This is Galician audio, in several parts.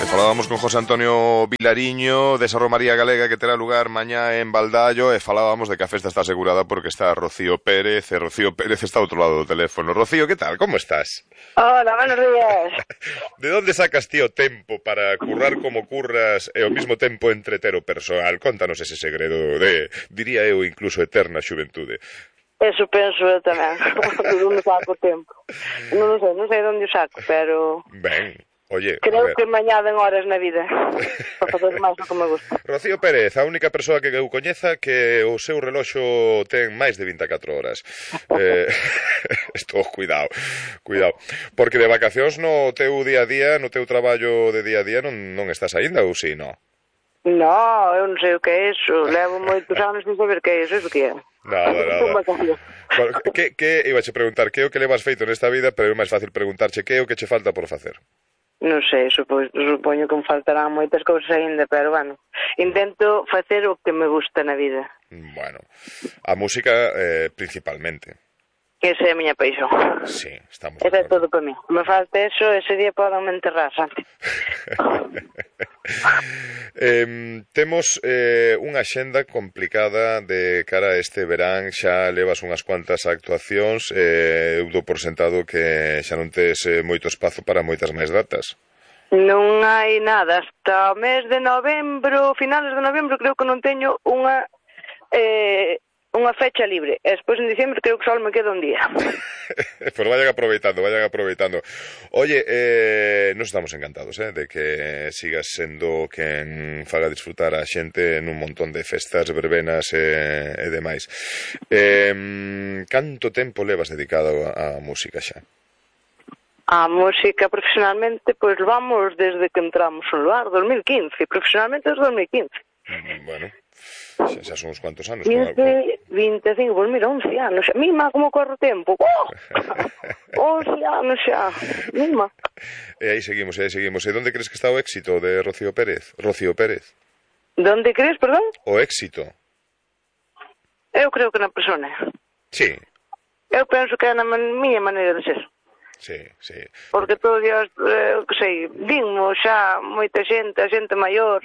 Falábamos con José Antonio Vilariño desa romaría galega que terá lugar mañá en Baldallo e falábamos de que a festa está asegurada porque está Rocío Pérez e Rocío Pérez está ao outro lado do teléfono. Rocío, que tal? Como estás? Hola, buenos días. De onde sacas ti o tempo para currar como curras e ao mesmo tempo entreter o persoal? Contanos ese segredo de, diría eu, incluso eterna xuventude. Eso penso eu tamén. De onde saco o tempo. Non sei de onde o saco, pero... Ben, oye, creo que mañá den horas na vida para fazer máis do que me gusta. Rocío Pérez, a única persoa que eu coñeza que o seu reloxo ten máis de 24 horas. Estou, cuidado, porque de vacacións no teu día a día, no teu traballo de día a día non estás aínda ou si, non? No, eu non sei o que é iso. Levo moitos anos sin saber que é iso. Iso que é? Nada. Bueno, que ibache preguntar que é o que levas feito nesta vida, pero é máis fácil preguntarche que é o que che falta por facer. Non sei, supoño que me faltarán moitas cousas aínda, pero bueno, intento facer o que me gusta na vida. Bueno, a música principalmente. Esa é a miña paixón. Sí, estamos. Esa é todo para mí. Me falta eso, ese día poden me enterrar, Santi. Temos unha axenda complicada de cara a este verán. Xa levas unhas cuantas actuacións. Eu dou por sentado que xa non tes moito espazo para moitas máis datas. Non hai nada hasta o mes de novembro, finales de novembro, creo que non teño unha fecha libre. E despois en diciembre creo que só me queda un día. Pois vayan aproveitando. Oye, nos estamos encantados de que sigas sendo quen faga disfrutar a xente nun montón de festas, verbenas e demais. Canto tempo levas dedicado á música xa? A música profesionalmente, pois vamos desde que entramos no lugar, 2015, profesionalmente desde 2015. Bueno, xa son uns cuantos anos. 25, pois mira, 11 anos. Mima, como corre o tempo. 11 anos xa. Mima. E aí seguimos. E onde crees que está o éxito de Rocío Pérez? Donde crees, perdón? O éxito. Eu creo que na persona. Sí. Eu penso que é na miña maneira de ser. Sí. Porque todo Dios, que sei, dinmo xa moita xente, a xente maior,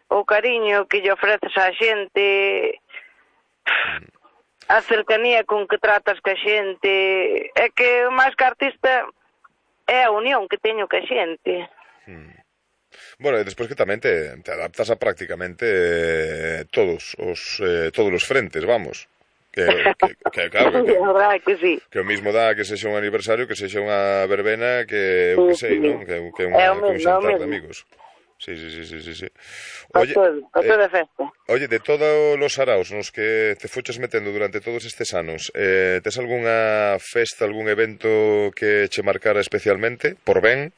o cariño que lle ofreces á xente, a cercanía con que tratas ca xente, é que máis que artista é a unión que teño ca xente. Bueno, e despois que tamén te adaptas a prácticamente todos os frentes, vamos. Que claro, que sí. Que o mismo dá que sexa un aniversario, que sexa unha verbena, que eu que sei, non? Que un xantar de amigos. Sí. Oye, a toda festa. Oye, de todos os saraos nos que te fuches metendo durante todos estes anos, tes algunha festa, algún evento que che marcara especialmente, por ben?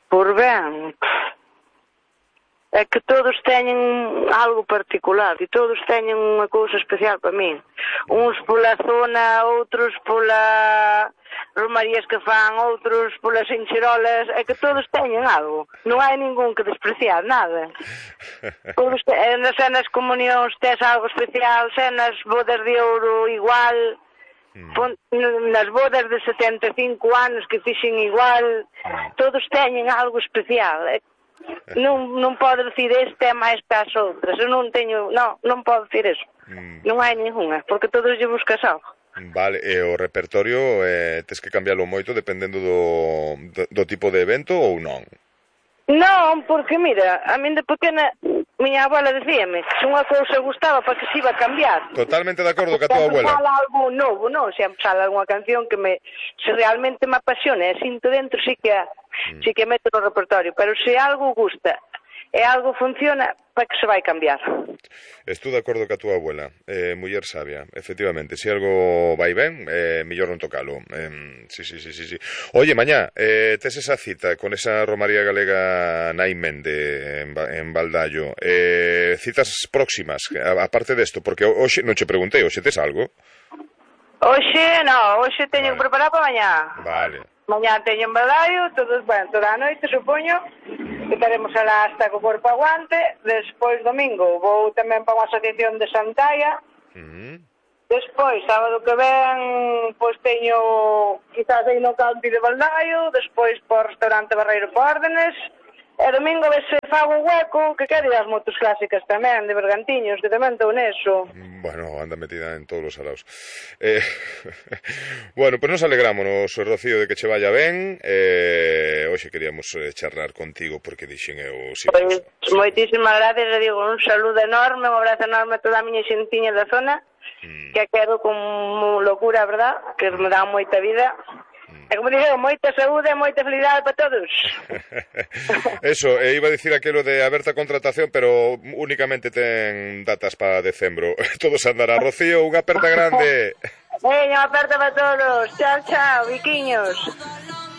Por ben... É que todos teñen algo particular e todos teñen unha cousa especial para min. Uns pola zona, outros pola romarías que fan, outros polas encherolas. É que todos teñen algo. Non hai ningún que despreciar, nada. Todos nas cenas comunións tes algo especial, cenas bodas de ouro igual, nas bodas de 75 anos que fixen igual. Todos teñen algo especial. Non podo dicir este é máis que as outras. Eu non teño, non podo dicir eso. Non hai ninguna, porque todos lle buscas algo. Vale, e o repertorio tes que cambialo moito dependendo do tipo de evento ou non? Non, porque mira, a min de pequena miña abuela dicíame que se unha cousa gustaba para que se iba a cambiar. Totalmente de acordo ca tua abuela. Sempre sale algo novo, non? Sempre sale algunha canción que se realmente me apasiona e sinto dentro, sí que meto no repertorio, pero se algo gusta e algo funciona, para que se vai cambiar. Estou de acordo ca tua abuela, muller sabia, efectivamente, se algo vai ben, mellor non tocalo. Sí. Oye, mañá, tes esa cita con esa romaría galega Nai Mende en Baldallo. Citas próximas, aparte desto, porque hoxe non che preguntei, hoxe tes algo? Hoxe teño que preparar para mañá. Vale. Mañá teño en Baldallo, toda a noite, supoño, que estaremos alá hasta co corpo aguante. Despois, domingo, vou tamén para unha asociación de Santalla. Despois, sábado que ven, pois teño quizás aí no campi de Baldaio, despois por restaurante Barreiro por órdenes, e domingo ves se fago un hueco, que quero ir ás motos clásicas tamén, de Bergantiños, que tamén estou neso. Bueno, anda metida en todos os alaos. Bueno, pues nos alegrámonos, Rocío, de que che vaya ben. Hoxe queríamos charlar contigo porque dixen eu... Pois, moitísimas gracias, e digo un saludo enorme, un abrazo enorme a toda a miña xentiña da zona, que quero con locura, verdad, que me dá moita vida. E como dixo, moita saúde e moita felicidade para todos. Eso, iba a dicir aquilo de aberta contratación, pero únicamente ten datas para decembro. Todos andará. Rocío, unha aperta grande. Unha aperta para todos. Chao, chao, biquiños.